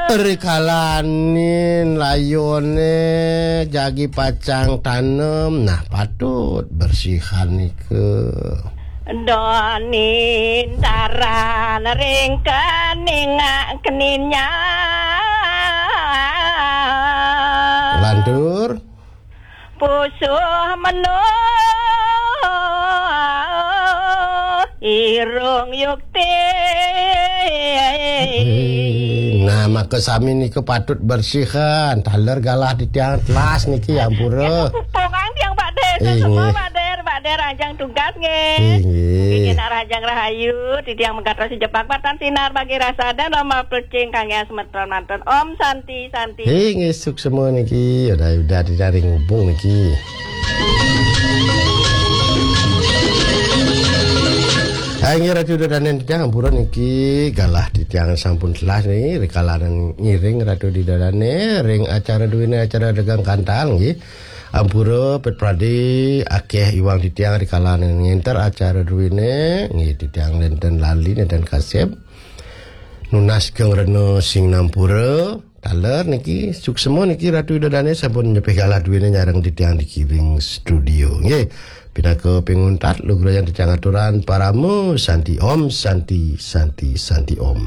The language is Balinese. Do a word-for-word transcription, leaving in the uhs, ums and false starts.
Rikalanin layone jagi pacang tanem, nah, patut bersihan nika. Donin taran ring kening keninnya. Lantur. Pusuh menuh irung yukti. Nah, maka sami nika patut bersihan. Taler galah titiang telas niki, ampura. Pupungan tiang, Pak Der. Inggih. Semua, Pak Der, Pak Der, ajang tugas nggih. Inggih. Nggih, nak rahajang rahayu, titiang mengkatos jepak matan sinar bagi rasa dan lama plecing kangge semeton mantun. Om Santi, Santi. Inggih, suksema niki. Udah, udah, udah ring hubung niki. Inggih, Ratu Ida Dane titiang, ampura niki, galah titiang sampun telas nih, rikalanan ngiring Ratu Ida Dane ring acara duene, acara dagang kantal nggih. Ampura pet pradi akeh iwang titiang rikalanan ngenter acara duene nggih, titiang nenten lali, nenten kasep. Nunas geng rena sing nampura. Taler niki, suksema niki, Ratu Ida Dane sampun nyepih galah duene nyareng titiang di kiwing studio. Nggih, pinaka pinguntat lugrayan titiang aturan parama santi om, santi, santi, santi om.